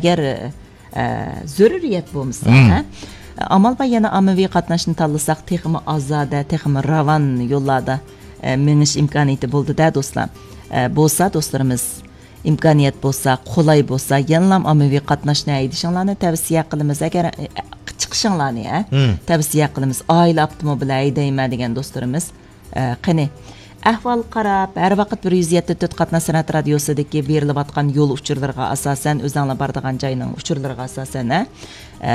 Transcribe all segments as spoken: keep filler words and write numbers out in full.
ئەگەر، ئە، زۆرۈرىيەت بولمىسا، ھە، ئامال بار يەنە ئاممىۋى قاتناشنى تاللىساق، تېخىمۇ ئازادە، تېخىمۇ راۋان يوللاردا، ئە، مېڭىش ئىمكانىيىتى بولىدۇ-دە، دوستلار. ئە، بولسا، دوستلىرىمىز، ئىمكانىيەت بولسا، قولاي بولسا، يەنىلام ئاممىۋى قاتناشنى ھەيدىشىڭلارنى تەۋسىيە قىلىمىز. ئەگەر، ئە، چىقىشىڭلارنى، ھە، تەۋسىيە قىلىمىز. ئائىلە ئاپتوموبىلى ھەيدەيمەن دېگەن دوستلىرىمىز. ئە، قېنى، ئەھۋالغا قاراپ، ھەر ۋاقىت بىر يۈز يەتتە تۆت قاتناش سەنئەت رادىيوسىدىكى بېرىلىۋاتقان يول ئۇچۇرلىرىغا ئاساسەن، ئۆزەڭلار بارىدىغان جاينىڭ ئۇچۇرلىرىغا ئاساسەن، ھە، ئە،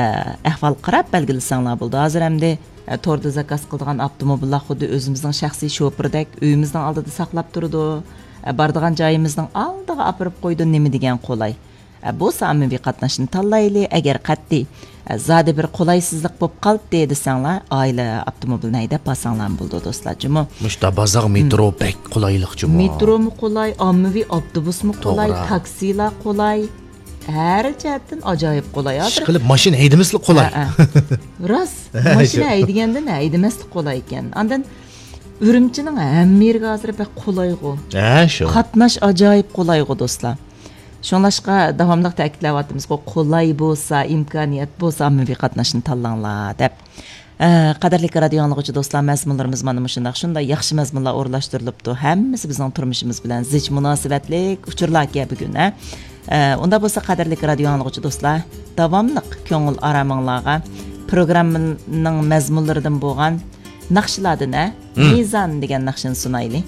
ئەھۋالغا قاراپ بەلگىلىسەڭلار بولىدۇ. ھازىر ئەمدى، ئە، توردا زاكاز قىلىدىغان ئاپتوموبىللار خۇددى ئۆزىمىزنىڭ شەخسىي شوپۇرىدەك ئۆيىمىزنىڭ ئالدىدا ساقلاپ تۇرىدۇ. ئە، بارىدىغان جايىمىزنىڭ ئالدىغا ئاپىرىپ قويىدۇ، نېمە دېگەن قولاي. ئە، بولسا ئاممىۋى قاتناشنى تاللايلى. ئەگەر قەتئىي، ئە، زادى بىر قولايسىزلىق بولۇپ قالدى دېسەڭلار، ئائىلە ئاپتوموبىلىنى ھەيدەپ بارساڭلارمۇ بولىدۇ، دوستلار. جۇمۇ. مۇشتا بازار مېترو بەك قولايلىق جۇمۇ. مېترومۇ قولاي، ئاممىۋى ئاپتوبۇسمۇ قولاي، توغرا. تاكسىلار قولاي. ھەر جەھەتتىن ئاجايىپ قولاي. ھازىر ئىشقىلىپ ماشىنا ھەيدىمەسلىك قولاي. ھە، ھە. راست. ماشىنا ھەيدىگەندىن ھەيدىمەسلىك قولاي ئىكەن. ئاندىن ئۈرۈمچىنىڭ ھەممە يېرىگە ھازىر بەك قولايغۇ. ھە، شۇ. قاتناش ئاجايىپ قولايغۇ، دوستلار. شۇڭلاشقا داۋاملىق تەكىتلەۋاتىمىزغۇ، قولاي بولسا، ئىمكانىيەت بولسا، ئاممىۋى قاتناشنى تاللاڭلار دەپ. ئە، قەدىرلىك رادىيو ئاڭلىغۇچى دوستلار، مەزمۇنلىرىمىز مانا مۇشۇنداق، شۇنداق ياخشى مەزمۇنلار ئورۇنلاشتۇرۇلۇپتۇ. ھەممىسى بىزنىڭ تۇرمۇشىمىز بىلەن زىچ مۇناسىۋەتلىك ئۇچۇرلاركەن بۈگۈن، ھە. ئە، ئۇنداق بولسا، قەدىرلىك رادىيو ئاڭلىغۇچى دوستلار، داۋاملىق كۆڭۈل ئارامىڭلارغا پروگراممىنىڭ مەزمۇنلىرىدىن بولغان ناخشىلاردىن، ھە، مىزان دېگەن ناخشىنى سۇنايلى.